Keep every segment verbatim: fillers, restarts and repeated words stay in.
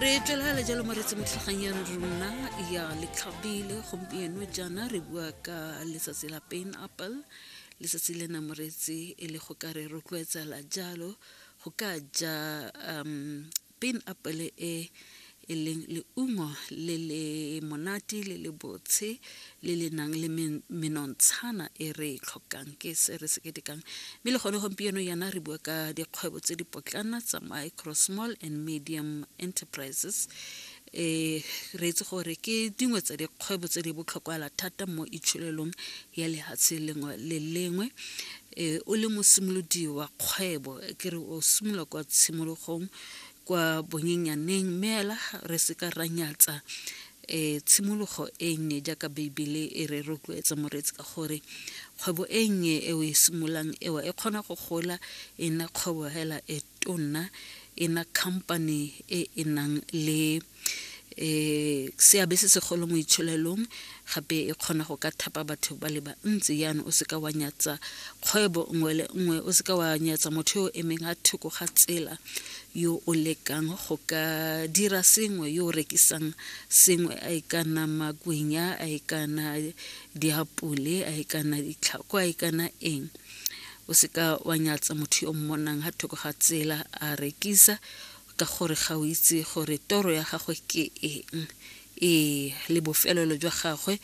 Re tswelela jalo moretsi mo tlhagang ya rona ya Letlhabile. Gompieno jaana re bua ka letsatsi la pineapple. Letsatsi lena moretsi e le go ka re rotloetsela jalo go ka ja um pineapple e e leng leungo le le monate, le le botshe, le le nang le menontshana e re e tlhokang. Ke se re se ketekang, mme le gone gompieno yana re bua ka dikgwebo tse di potlana tsa micro, small and medium enterprises. um re itse gore ke dingwe tsa dikgwebo tse di botlhokwa thata mo itsholelong ya lehatshe lengwe le lengwe. um o le mosimolodi wa kgwebo, ke re o simolola kwa tshimologong, kwa bonyenyaneng, mme ela re se ka ra nyatsa um tshimologo e nnye jaaka Beibele e re rotloetsa moreetsi, ka gore kgwebo e nnye e o e simololang ewa e kgona go gola e nna kgwebo hela e tonna, e nna company e e nang le um seabe se segolo mo itsholelong, gape e kgona go ka thapa batho ba le bantsi. Jaanong o seka wa nyatsa kgwebo nngwe le nngwe, o seka wa nyatsa motho yo o emeng ga thoko ga tsela, yo o lekang go ka dira sengwe, yo o rekisang sengwe, a e ka nna makwenya, a e ka nna diapole, a e ka nna ditlhako, a e ka nna eng. O seka wa nyatsa motho yo mmonang ga thoko ga tsela a rekisa, ka gore ga o itse gore toro ya gagwe ke eng, ee le bofelelo jwa gagwe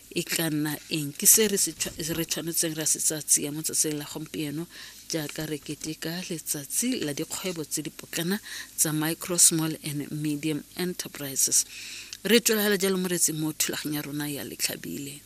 e tla nna eng. Ke se re tshwanetseng ra se tsaya tsia mo tsatsing la gompieno jaaka re keteka letsatsi la dikgwebo tse di potlana tsa micro, small and medium enterprises. Re tswelela jalo moretsi mo thulaganyo ya rona ya Letlhabile.